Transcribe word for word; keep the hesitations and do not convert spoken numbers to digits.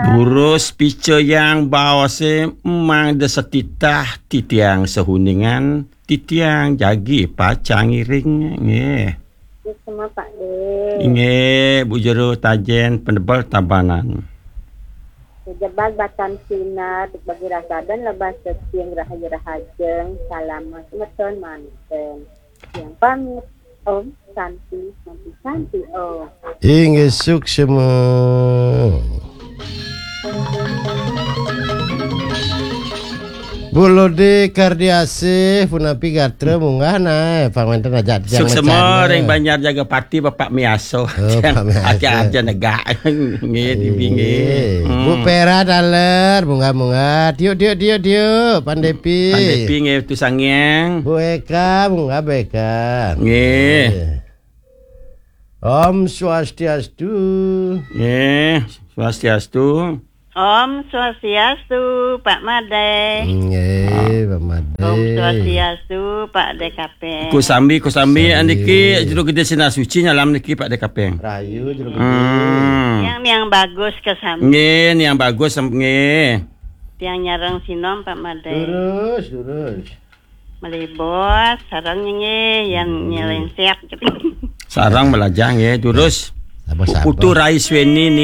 Durus picayang baosé emang da setitah titiang seuningan, titiang jagi pacang ngiring. Nggih. Semua Pak De. Inggih, Bu Jero Tajén Penebel Tabanan. Jebag batan sinar, bagi rasadan lebah seting rahayu rahajeng, salamet meton manten. Yang pamit, Om Santi, Santi, Santi, Om. Inggih, suksma. Bu Lodi Kardiasih, punapi gatra munggah nah, pang wénten ajak titiang suksma macan, ring nah. Banjar Jaga Pati, Bapak Miaso. Oh, Pak Miaso. Aja, aja negak. Nggih, tibi nggih. Nggih. Hmm. Bu Pera taler, munggah-munggah. Tiuk, tiuk, tiuk, tiuk. Pandepi. Pandepi nggih, tu sangiang. Bu Eka, munggah Bu Eka. Nggih. Nggih. Om Swastiastu. Nggih, Swastiastu. Om Swastiastu, Pak Madé. Nggih, Pak Madé. Om Swastiastu, Pak D K P. Kusambi, kusambi, sambi. Andiki Juru Gedé Sinar Suci nyalam niki, Pak D K P. Rayu, Juru Gedé. Hmm. Yang, yang bagus kesambi. Nggih, yang bagus, sem-, nggih. Tiang nyareng sinom, Pak Madé. Durus, durus. Malih bos, sareng nggih, yang nyelensek. Sareng malajah nggih, durus. Apa sabar? Putu Rai Sweni